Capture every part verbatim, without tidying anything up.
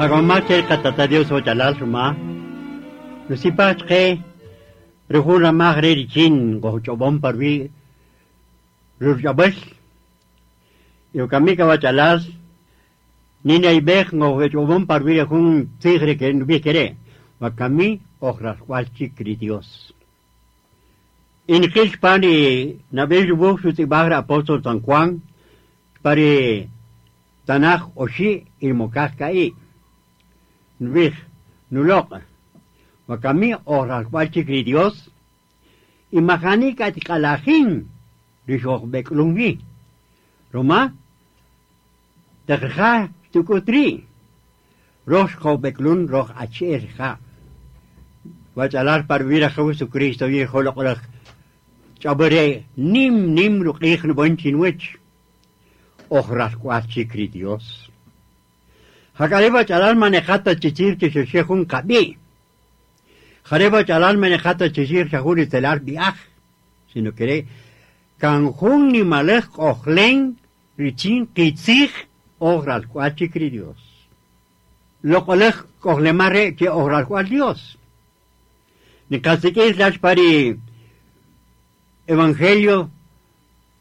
Jagomache katata Dios ochalal ruma. Nusipach ke rujun ramaj re richin gochobon parvi rurjabel. Yokamika wachalal nina ibej gochobon parvi rujun tigre que nubie kere. Wakami ojrascualchi cri Dios. In pani nabel yubuj sutibagra apóstol San Juan pari Tanaj oshi ilmokaj kai. Nubij nulok. Wakami ojrascualchi cri Dios. Imajani katikalajin rixojbeklungi. Roma teja tukutri. Roj jobeklun roj acherja. Wachalar parvira Jesucristo viejo lokolaj. Chabere nim nim ruqij nubonchinuech. Ojrascualchi cri Dios. Jacareba chalal manejata chichir chixexejun kabi. Jareba chalal manejata chichir chajuri telar biaj. Sino que kanjun ni malej ojlen richin kitzij ojrascualchi cri Dios. Lokolej ojlemare que ojrascual Dios. Ni cacique las pari Evangelio,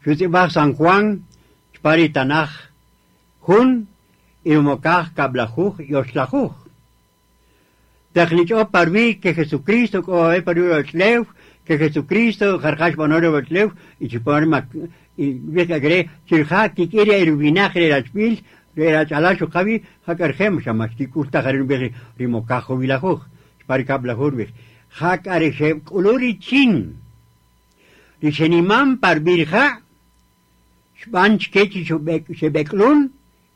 Shutibaj San Juan, pari Tanaj, Jun, Irmokaj, Kablajuj, Yoshlajuj. Tecnicho parvi que Jesucristo, o parvi Otleu, que Jesucristo, Jarjash Bonore Otleu, y Chiporma, y Vieja Gre, Chirja, Kikiria, Irubinaje, Erachpil, Erachalacho Javi, Jacargem, Shamashtikulta, Jarin Vieje, Rimokajo Vilajuj, pari Kablajuj, Jacareje, Kuluri Chin. Dichenimam par virja, Shbanch kechi shebeklun,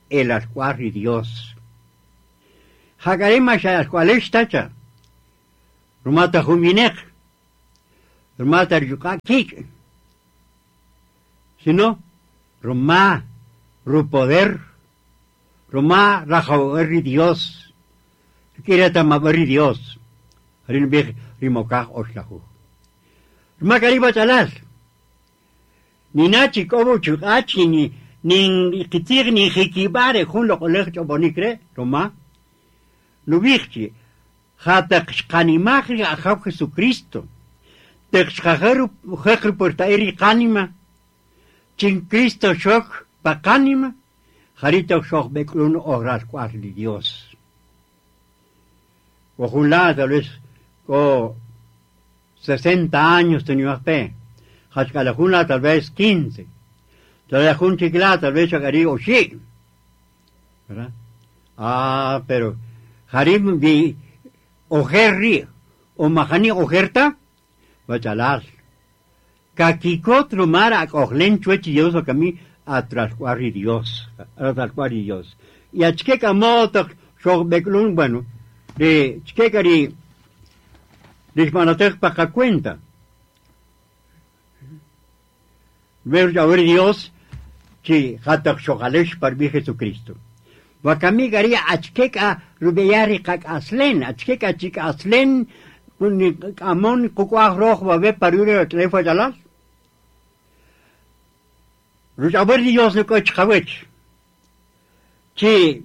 el ascuarri Dios. Jacarema shascualesh tacha. Rumata juminek. Rumata yukakik. Sino, Roma, ru poder, Roma rajawerri Dios. Quiere tamaberri Dios. Rinbij rimokaj oslahu. Ruma chalal. Ni nachi kobo chukachi ni ni kitir ni jikibare jun lo kolej chobonikre Roma. Nubijchi hatak xkanimajri ajaw Jesucristo. Texkajeru jekru portairi kanima. Chin Cristo shok pakanima. Jarito shok beklun ogras cuarli Dios. Ojulá tal vez ko sesenta años tenía fe. Hachkalajuna tal vez quince. Tal vez chicla tal vez chacarí o sí. ¿Verdad? Ah, pero Harim vi ojerri o majani ojerta bachalar. Kakikot rumara ojlen chuechi Dios o cami atrascuarri Dios. Atrascuarri Dios. Y achqueca moto shogbeklun bueno. De chquecari Dishmanatej pa cuenta. Ver a ver Dios, chi hatak shogalesh par mi Jesucristo. Wakami garia achkeka rubeyari kak aslen, achkeka chik aslen, amon kukuaj roj babe parure tlefo jalal. Ruchaber Dios no koch kawech. Chi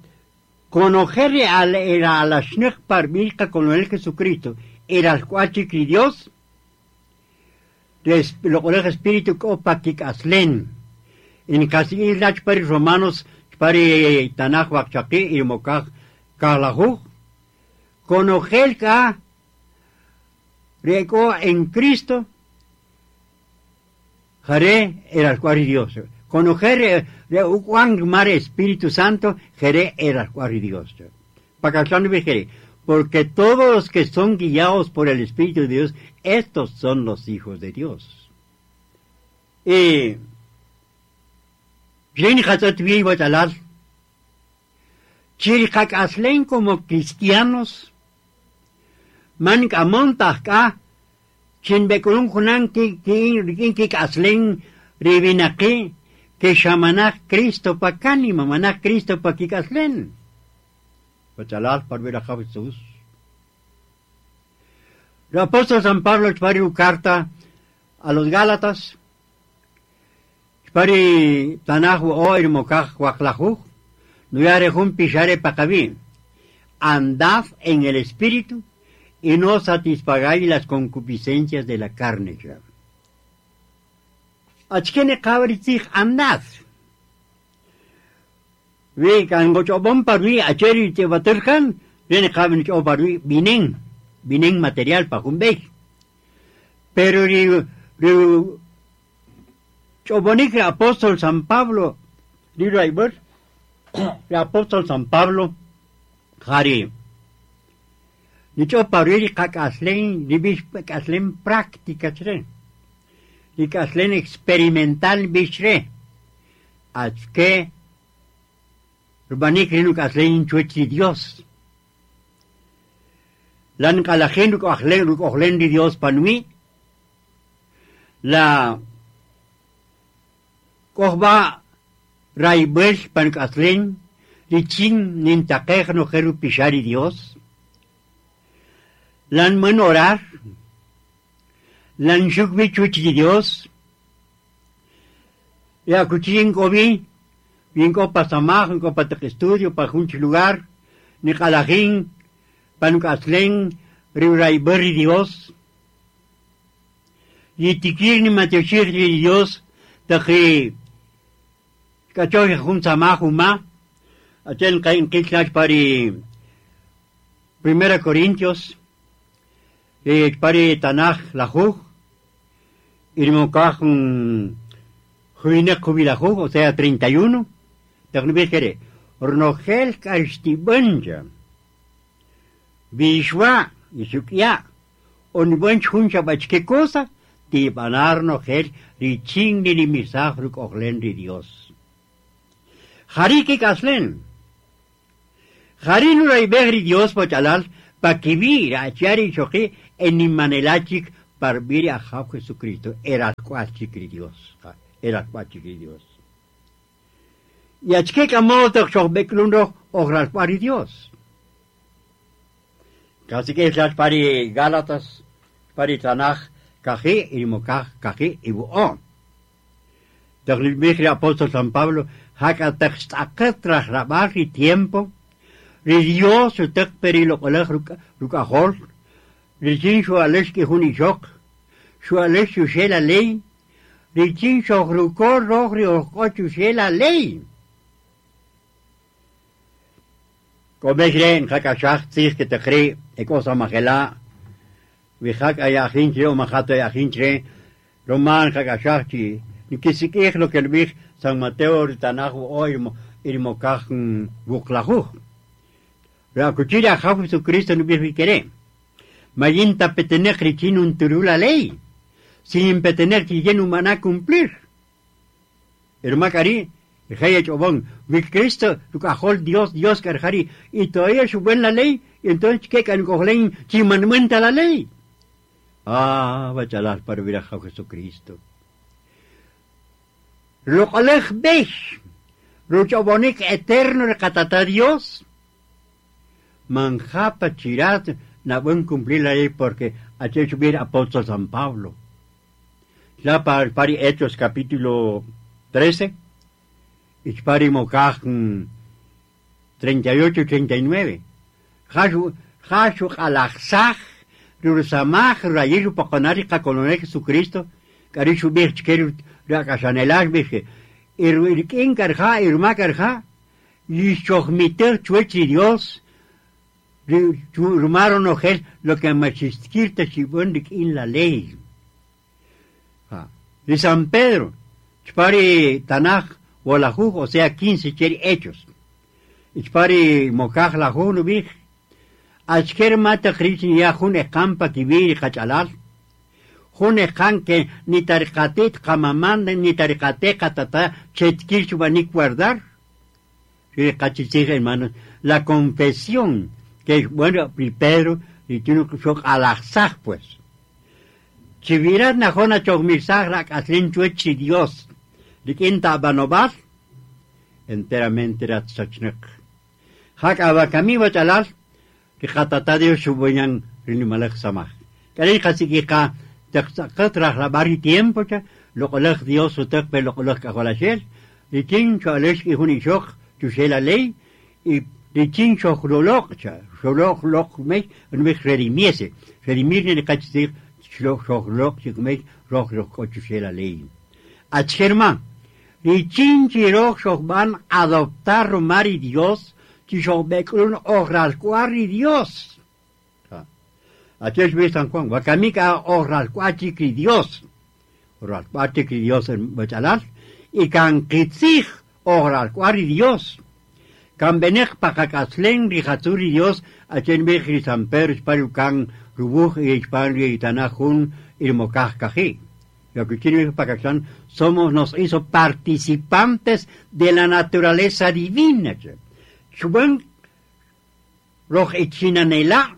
conocer al era al ashnek par mi con el Jesucristo. Era el cuachi Dios, lo colegio espíritu opakik aslen. En casi lach pari romanos, pari tanaj wakchaki y mokaj kalajuj, conogel ka riego en Cristo, jare era el cuari Dios. Conocer Juan mar Espíritu Santo, jere era el cuari Dios. Pacachán vejere. Porque todos los que son guiados por el Espíritu de Dios, estos son los hijos de Dios. Y como cristianos, man amontajka, chinbekulun junan ki ki aslen ribinaki, que shamanaj Cristo pakanima, manaj Cristo pakikaslen. Bachalal par ver a Jesús. El apóstol San Pablo pari carta a los Gálatas, pari tanaj o irmokaj huaklajuj, nuyare jun pishare pakabi. Andad en el Espíritu y no satisfagáis las concupiscencias de la carne. Achkene kabritzij andad. Vi kan gochobon parui acheri tebaterkan, viene kabin parui binen, binen material pa jumbey. Pero ri ri chobonik apóstol San Pablo, ri raibur, el apóstol San Pablo, jari. Nicho parui kakaslen, ribish kaslen práctica chre. Kaslen experimental bishre. Achke Rubanik rinu kaslen chuechi Dios. Lan kalajen rukojlen rukojlen di Dios panui. La kojba raibel pan kaslen richin nintakej no jeru pishari Dios. Lan men orar. Lan shukbi chuechi Dios. Ya kuchin kobi. Vinko pa samaj, vinko pa estudio, pa junch lugar, ni kalajin, pa nukaslen, riuraiberri Dios. Y tikir ni mateoshir Dios, taji kachoy jun samaj uma, achen kain kitlach pari Primera Corintios, y pari Tanaj lajuj, y mokaj juinek jubilajuj, o sea, treinta y uno. Taqnibijere, Ornogel Karstibanja, Bishwa, Isukya, Onibunch Huncha Bachke cosa, Tibanar Nogel, Riching ni Misajruk Oglen de Dios. Jariki Kaslen, Jarinura y Begri Dios Pochalal, Pakibir, Achari Choki, Enimanelachik, Parbiri a Jesucristo, era cuachik Dios, era cuachik Dios. Y achke kamotok shobeklundo ogral pari Dios. Casi que es pari Gálatas, pari Tanaj, kaji, y mokaj, kaji, y buon. Taglimigri apóstol San Pablo, haka textaketraj rabari tiempo, ri Dios utek perilo kolej rukajol, richin shualesh ki junishok, shualesh shushe la ley, richin shohrukor rojri ojoch shushe la ley. Comejren, jakashach, tzich, que te cree, ekosa majela, vijak ayajinche o majato ayajinche, román, jakashach, chi, ni kisikij lo que el bij, San Mateo, Tanajo, o irmokaj, buklajuj. La cuchilla, Jesucristo, no bij queré. Mayinta petenej richin un turula ley, sin petenej chillen humana cumplir. Hermacari, mi Cristo, Dios, Dios carjari, y todavía suben la ley, y entonces ¿qué can chimanmuenta la ley? Ah, bachalar para ver a Jesucristo. Lo colej bech, ruchabonik eterno recatata Dios. Manjapa chirat, na buen cumplir la ley porque ha hecho bien apóstol San Pablo. Ya para pari Hechos capítulo trece. Ichpari mokaj treinta y ocho treinta y nueve. Jashu jashu alajsaj rursamaj rayiru pokonari kakolone Jesucristo karishu birch keru rakashanelaj birche irkin karja irma karja yishogmiter chuechi Dios rumaron ojel lo que machiskirta chibondik in la ley. De San Pedro chpari Tanaj o o sea, quince cheri hechos. Ichpari mokaj la no bij. Achker mata krishin ya jun ekampa kibiri kachalal. Jun ekan que ni tarikatet kamaman ni tarikate katata chetkir chubanik guardar. Hermanos, la confesión que es bueno, Pedro, y tiene que alazaj pues. Chivirat najona chogmirsaj rak aslin chuechi Dios. Rikinta banobal, enteramente ratsachnek. Hak abakami bachalal, rikatata Dios shubuñan rinimalek samaj. Kari kasikika texakat rabari tiempo cha, lokolek Dios utek pe lokolek kakolashel, rikin choalesh ki junishok chushela ley, y Richin xojroloq cha, xoloq loq mej, nmej redimiese, redimir ni kachtzij, xojroloq chikmej, roj roj kochuxe la ley. Achkerma, richin chiroj xojban adoptar romari Dios, chixojbekrun ojralcuari Dios. Achesh San Juan, wakamika ojralcuachikri Dios. Ojralcuachikri Dios en Bachalal, y kan kitzij ojralcuari Dios. Kan benek pakakaslen rijatzuri Dios, achen bej San Pedro kan rubuj y y tanajun irmokaj kaji. Lo que quiere pakaksan, somos, nos hizo participantes de la naturaleza divina. Chuban roj ichinanela,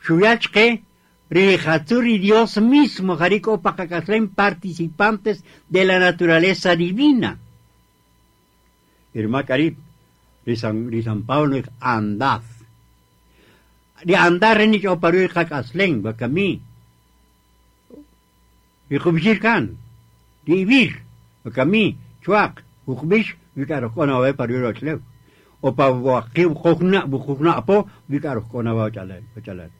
Chuyachke, rijatzuri Dios mismo, jariko pakakaslen participantes de la naturaleza divina. Irma Carib, San, San Pablo, andad. Di andar ni oparu kakaslen, bakami. Di kubishir kan, di ibir, bakami, chuak, ukbish, vikarokona we paru rochlew. Opa waki bukukna, bukukna apo, vikarokona wa chalal, chalal.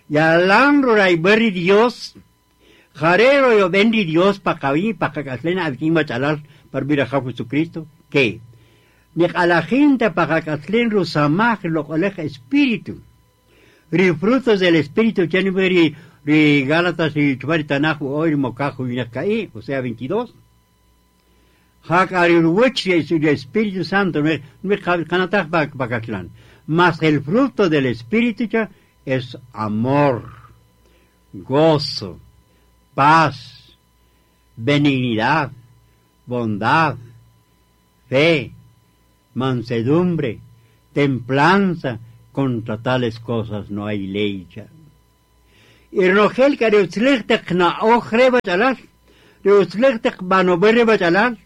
Yalan roray beri Dios, jarero yo bendi Dios pakawi, pakakaslen abikin chalal, par vira Jesucristo, que Niqalajinta pakakaslen rusamaj loqolej espíritu. Ri frutos del espíritu, ri ri Gálatas y chubari tanaju hoy mocajo y o sea veintidós. Jakariruwich el Espíritu Santo, mas el fruto del Espíritu es amor, gozo, paz, benignidad, bondad, fe, mansedumbre, templanza, contra tales cosas no hay ley. Irnogel que na ojre bachalal, reutzlechtek banoberre bachalal,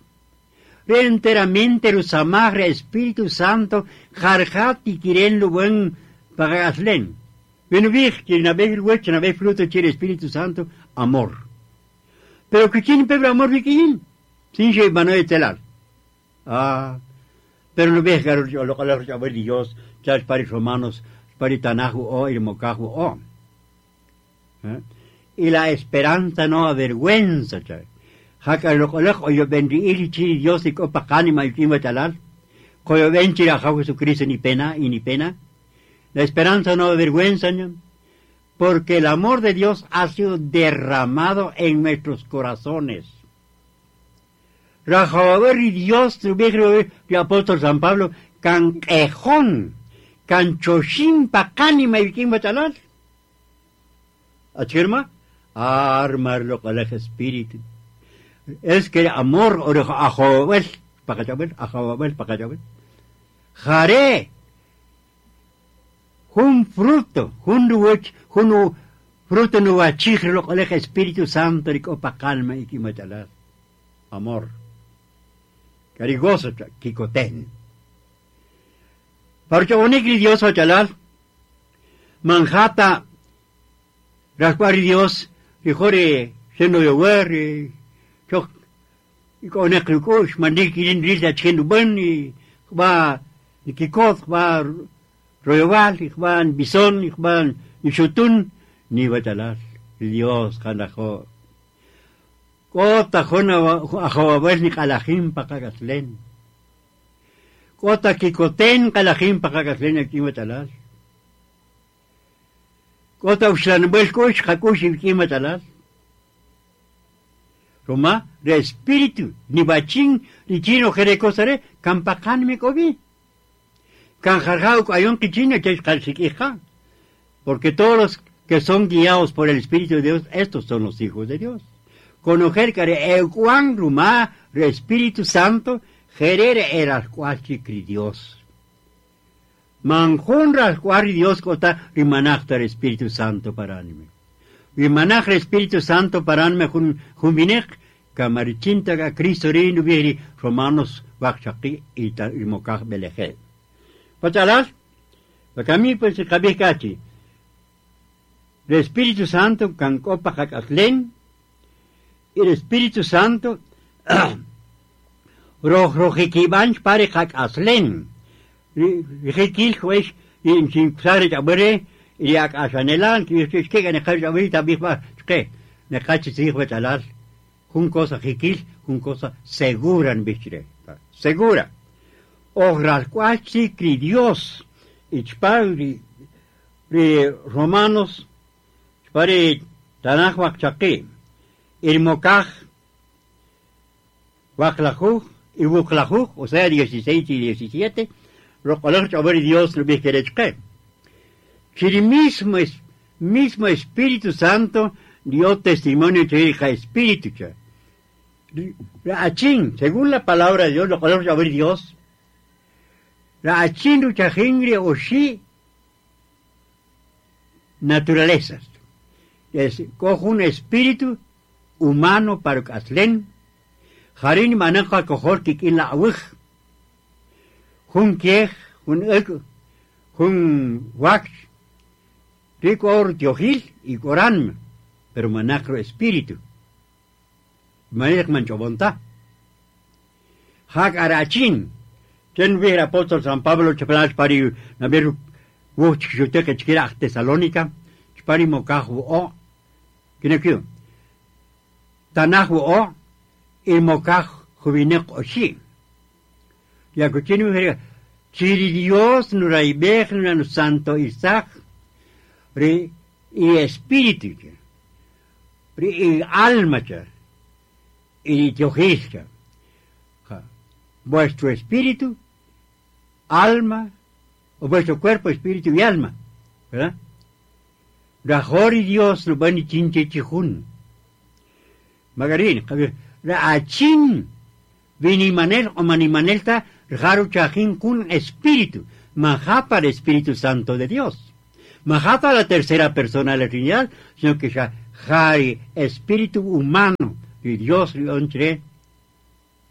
re enteramente rusamagre Espíritu Santo, jarjati kiren lubuen pagaslen. Ven vij, que na vez el na vez fruto chile Espíritu Santo, amor. Pero que quién pebre amor vikin, sin she banoe telal. Ah, pero no ves lo que Dios, chas pari romanos, pari tanaju o irmocaju o. ¿Eh? Y la esperanza no avergüenza, chay. Jaca lo o yo bendí chi Dios y copa cánima y kimba chalal. Koyo benchi a Jesucristo ni pena y ni pena. La esperanza no avergüenza, ¿no? Porque el amor de Dios ha sido derramado en nuestros corazones. Rajababer y Dios, el apóstol San Pablo, can quejón, can choshim pacánima y kimba chalal. ¿Achirma? Armarlo con el espíritu. Es que amor, ajobel, pacachabel, ajobel, pacachabel. Jare, un fruto, un ruch, un fruto no achigre lo con el Espíritu Santo y copa calma y kimachalal. Amor. Carigoso, kikoten. Porque onikri Dios achalal, manjata, rascuari Dios, y seno yower, chok, y con el kush, manikirin risa chenu ben, y va, nikikot, va, royoval, y va, bison, y va, nishutun, ni bachalal, Dios, janajo. Kota jona ajobabel ni kalajim pakakaslen. Kota kikoten kalajim pakakaslen aquí bachalal. Kota uxlanbel kush hakush aquí bachalal. Roma, re espíritu, ni bachin, ni chino jerecosare, kampakan me kobi. Kan jarjau ayon kichino, che. Porque todos los que son guiados por el Espíritu de Dios, estos son los hijos de Dios. Conocer que euan rumá, re Espíritu Santo, jerere era cuachi Dios. Manjun rascuari Dios cota rimanachta el Espíritu Santo para anime. Rimanach el Espíritu Santo para anime jun jumbinek, kamarichinta ka Cristo reino vieri Romanos wakchaki y mokaj beleje. Pachalas, bakami pues kabikachi. El Espíritu Santo kankopa hakaslen, el Espíritu Santo roj rojikibanch pare hakaslen. Rijikil juesh y chinkusare chabere y akashanelan que que ne chabere tabij que ne cachi bachalal jun cosa jikil jun cosa segura en bichre segura ojral cuachi cri Dios y chpari Romanos chpari Tanaj waqchaqi irmokaj waqlajuj y wuqlajuj, o sea dieciséis y diecisiete, roqoloj chaber Dios no bijerechque. Que mismo mismo Espíritu Santo dio testimonio de Espíritu. Achín, según la palabra de Dios, lo color saber Dios. La achín ruchajingre o sí naturalezas. Es cojo un espíritu humano para caslen. Jarin maneja cojor kikin la awij. Jun kiej, jun ek, jun wax. Rico or tiojil y corán, pero manacro espíritu. Manek manchobonta. Hak arachin. Ten vi el apóstol San Pablo chapelach pari naberu wuch chuteke chkira Tesalónica, chpari mokaju o. Kinekyu. Tanaju o y mokaj jubinek oshi. Yakuchini mujer chiri Dios nuraibej nuranu santo Isaac ri y espíritu ri y alma cha y tiojilcha. Vuestro espíritu, alma, o vuestro cuerpo, espíritu y alma, ¿verdad? Rajor y Dios no van chinche chijun. Magarín, Raachin, vinimanel o manimanelta, raru chajin kun espíritu, majapa el Espíritu Santo de Dios. Majapa la tercera persona de la Trinidad, sino que ya jari espíritu humano y Dios entre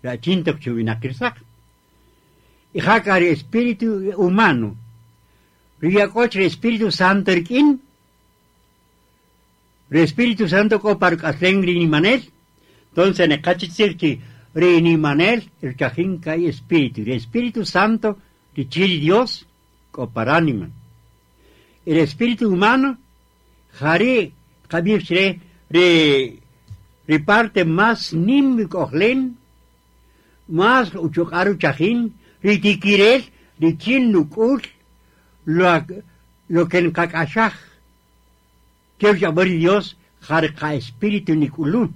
la chinta chubinakirsak. Y jacari espíritu humano. Riacoche Espíritu Santo erkin. El Espíritu Santo copar ni manel. Entonces en el cachitzirchi rinimanel el chajinca y espíritu. El Espíritu Santo richiri Dios coparánima. El espíritu humano jari kabirchre re reparte más nimbi ojlen más uchukaru chajin ritikirel richin nukul lo lo que en kakashaj que Dios jarka espíritu nikulun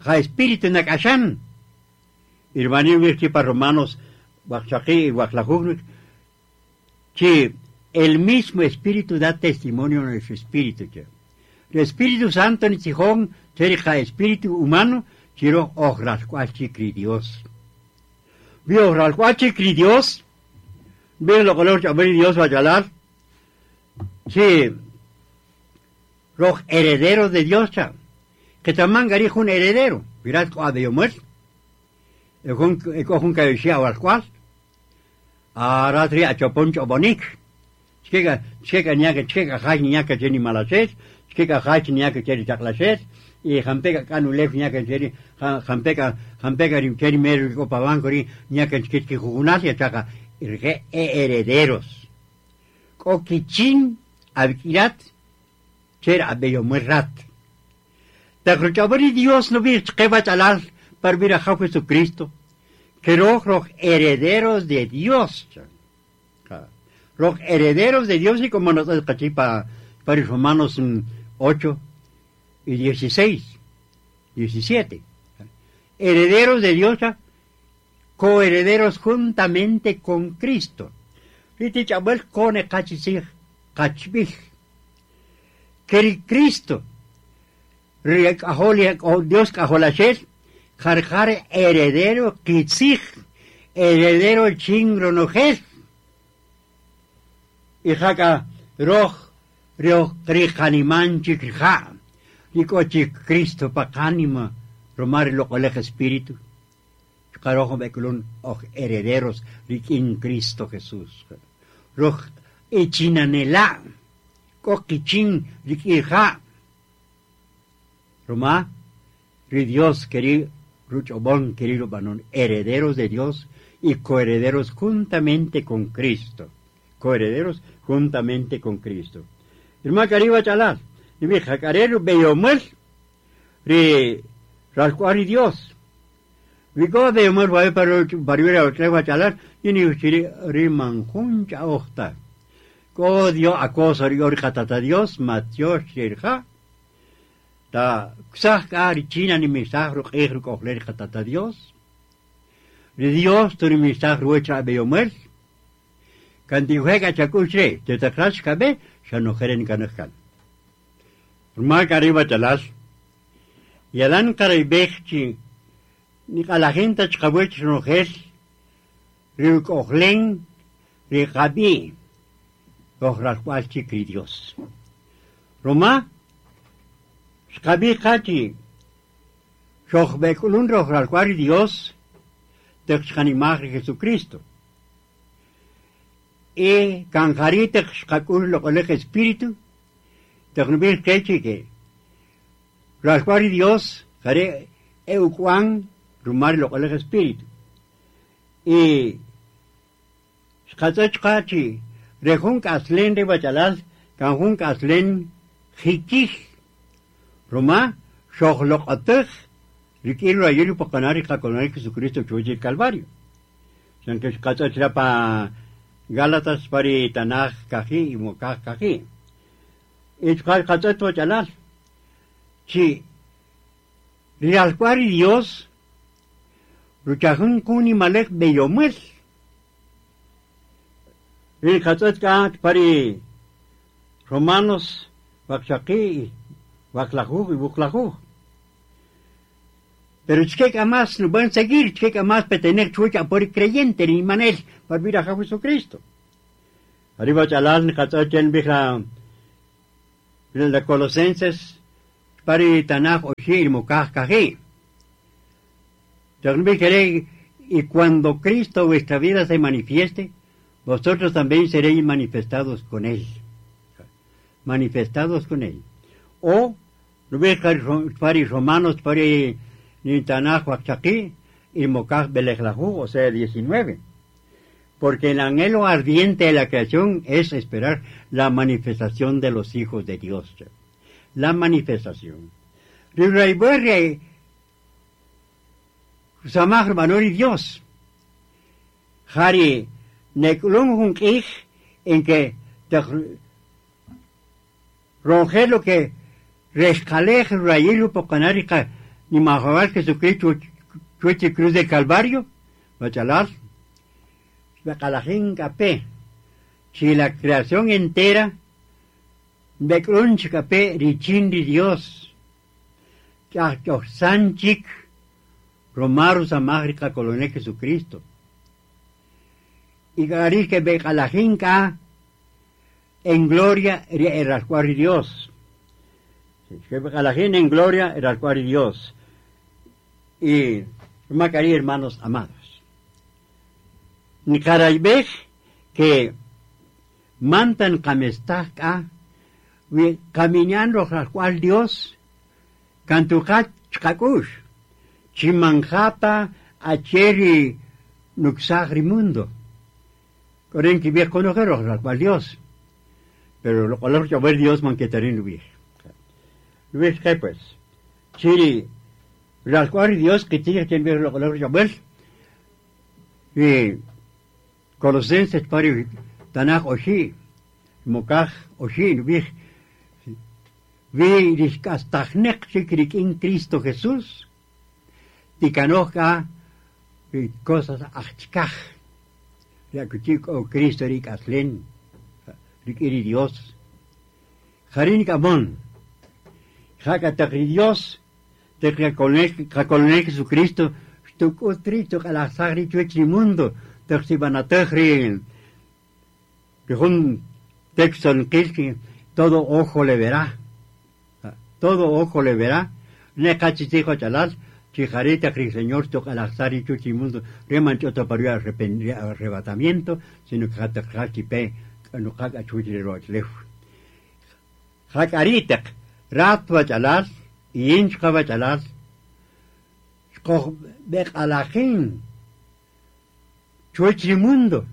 ja espíritu nakashan irmani virchi pa Romanos waqchaqi y waqlajujnuk que el mismo espíritu da testimonio a nuestro espíritu. El Espíritu Santo ni chijón serija espíritu humano chiro ojralcuachi Dios. Vio ojralcuachi Dios. Ve lo color chaber Dios va a hablar. Sí. Los herederos de Dios cha. Que también garijo un heredero. Mirad cua de muer. El con que al cual. Aratri a choponcho bonik. Chega chega ñaka chega jaj ñaka cheni malachet, chega jaj ñaka cheni chaclachet, y jampeka kanulef ñaka cheni jampeka jampeka rim cheni meru copabanco ri ñaka chkichki jugunasia chaca irge herederos. Kokichin abkirat cher abeyo muerrat. Tacruchabari Dios no vi chkeba chalal para vir a Jesucristo. Que los herederos de Dios. Los herederos de Dios, y como nos para para Romanos ocho y dieciséis, diecisiete. Herederos de Dios, coherederos juntamente con Cristo. Que Cristo, Dios cajolachel, jarjar heredero kitzij, heredero chingronojel. Y jaca roj roj ricaniman chikja, ricochi Cristo pacánima, romar lo colegio espíritu. Carojo beculun oj herederos riquin Cristo Jesús. Roj echinanela, coquichin riquija. Roma, ri Dios querido, ruchobón querido banon, herederos de Dios y coherederos juntamente con Cristo. Coherederos juntamente con Cristo. Irma kariba chalal, ni mi jacarero beyomel, ri ralcuari Dios. Vigo beyomel va para para otra chalar, y ni uchiri ri manjuncha ojta. Ko Dios acosa ri tata Dios, Mateo shirja. Ta ksaj ri china ni misaj ru q'ij ru k'ojler tata Dios. Ri Dios tu ri misaj ruecha beyomel. Kantijuega chakushre, te takrash kabe, xanojeren kanajkan. Rmak arriba chalas. Yalan karaibechchi, ni kalajenta chkawech nojel, riukojlen, riqabi, ojralcualchi cri Dios. Roma, xkabi kachi, xojbekulun rojralcuari Dios, texchanimaj Jesucristo. Y kanjarite xkakul lokolej espíritu, texnubir kechi que ralcuari Dios, jare eukuan rumar lokolej espíritu. Y xkatzach kachi, rejun kaslen de bachalal, kanjun kaslen jikij, Roma, xojloqatej, rik'in rayil poqanari qakonari Jesucristo chuchi Calvario. Sanke xkatzach pa Gálatas pari Tanaj kaji y Mokaj kaji. Y xkatzach bachalal. Chi, rialcuari Dios, ruchajun kuni malek beyomel. Rialcatzach ka pari Romanos, wakshaki, waklajuj y buklajuj. Pero chkek amas no van a seguir, chkek amas petener chucha por creyente ni manel para vir a Jesucristo. Arriba chalal katzachen bija la Colosenses pari Tanaj oshir mokaj kaji. Y cuando Cristo vuestra vida se manifieste, vosotros también seréis manifestados con él. Manifestados con él. O, pari Romanos, pari Tanaj Huachaqui y Mokaj Belejlahu, o sea, diecinueve. Porque el anhelo ardiente de la creación es esperar la manifestación de los hijos de Dios. La manifestación. Samaj Manori Dios. Jari Neklun Junkij en que ronge lo que rescalej rayilu pocanarica ni majabal Jesucristo chueche cruz del Calvario, bachalal, bacalajín capé, si la creación entera, becrunch capé richin di Dios, sanchik, romaru samajrica coloné Jesucristo. Y garis que becalajín ka en gloria el Dios. Que becalajín en gloria el Dios. Y Macarí, hermanos amados. Nikaraibej que mantan kamestaka caminando al cual Dios cantucat chkakush chimanjata acheri nuxagri mundo. Koren que viejo conocer al cual Dios. Pero lo color que ver Dios manquetarín lo viejo. Lo viejo que pues. Chiri las cuales Dios que tiene que ver lo color Jabel y Colosenses pari Tanaj oshi Mokaj oshi vi vi riskastajnek en Cristo Jesús tikanoja cosas achkaj ya kuchik o Cristo rikaslen rikiri Dios jarin kamon jakatakri Dios te que Jesucristo xtuk'utrito q'alajsaj chuech ri mundo teqsibanatej ri jun texto nqil todo ojo le verá, todo ojo le verá, neqachitijo chalal chijarita cri Señor toq'alajsaj ri chuech ri mundo reman ch'oto pario arrebatamiento sino que jataqjachipe nuqaq achuch ri ro'ochlej jak'aritaq ratwa chalal y inchqa chalal xqoj beq'alajin Chuwäch ri mundo.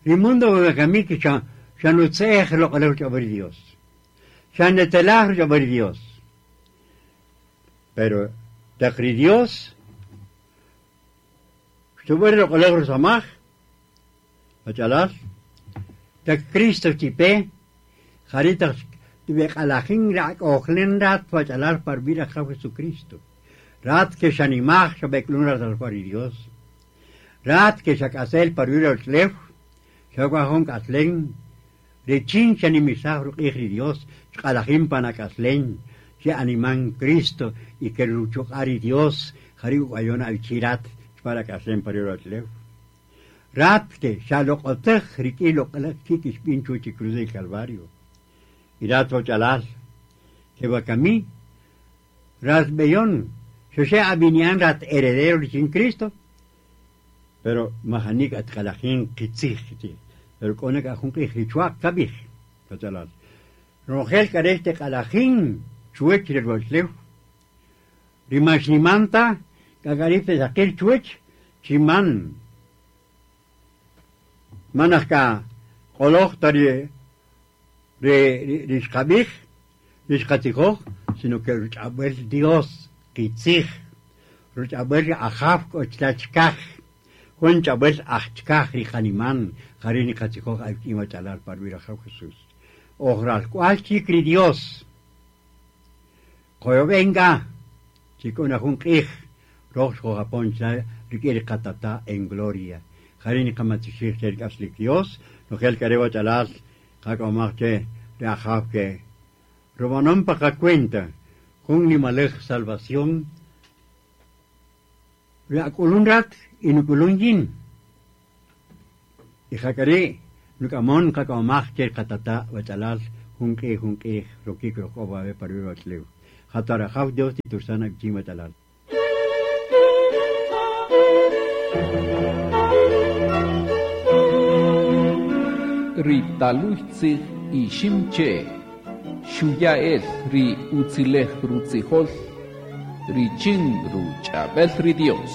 Ri mundo wakami xa xa nutze'ej loq'olaj ruch'ab'äl ri Dios. Xa netzelaj ruch'ab'äl ri Dios. Pero taq ri Dios xtub'än ri loq'olaj rusamaj, wach'alal, taq Cristo chipe, jari' taq tib'eq'alajin rak'ojlen rat wach'alal pa rub'i' Rajaw Jesucristo. Rat ke xanimaj xab'ek'ulun rat al ri Dios. Rat ke xak'asel pa rub'i' ruwach'ulew, xak'waj jun k'aslen, richin xanimisaj ruq'ij ri Dios, xq'alajin pan ak'aslen, che animan Cristo y ke ruchuq'a' ri Dios, jari' uk'wayon awichi rat para k'aslen pa rub'i' ruwach'ulew. Rat ke xaloq'otaj rik'in loq'olaj kik' xb'in chuwach ri cruz del Calvario. Y rat wach'alal, ke wakami, rat b'eyon, xaxe ab'inian rat heredero richin Cristo, pero majanik atq'alajin qitzij qitzij. Pero k'o na k'a jun q'ij ri chwa'q kab'ij, wach'alal. Ronojel k'a re' xtiq'alajin chuwach ri ruwach'ulew, ri man xniman ta, k'a k'a ri' saqil chuwach, chi man manaj k'a q'oloj ta ri ri ri xqab'ij, ri xqatzijoj, sino que ruch'ab'äl Dios qitzij, ruch'ab'äl ri Ajaw k'o chila' chikaj, jun ch'ab'äl aj chikaj ri qaniman, jari' niqatzijoj awik'in wach'alal pa rub'i' Rajaw Jesús. Oj ralk'wal chik ri Dios. Qoyob'en k'a, chi k'o na jun q'ij, roj xojapon chila' rik'in ri qatata' en gloria. Jari' niqamatioxij che ri k'aslik Dios, nojel k'a re' wach'alal, qak'omaj che ri Ajaw ke rub'anon pa qacuenta, jun nimalej salvación, ri ak'ulun rat y nuk'ulun yin. Y jak'ari' nuk'amon qak'omaj che ri qatata' wach'alal, jun q'ij jun q'ij rokik rojk'o wawe' pa rub'i' ruwach'ulew. Jata Rajaw Dios titursan awichin wach'alal. Ri taluy tzij Iximche' xuya'el ri utzilej rutzijol richin ruch'ab'el ri Dios.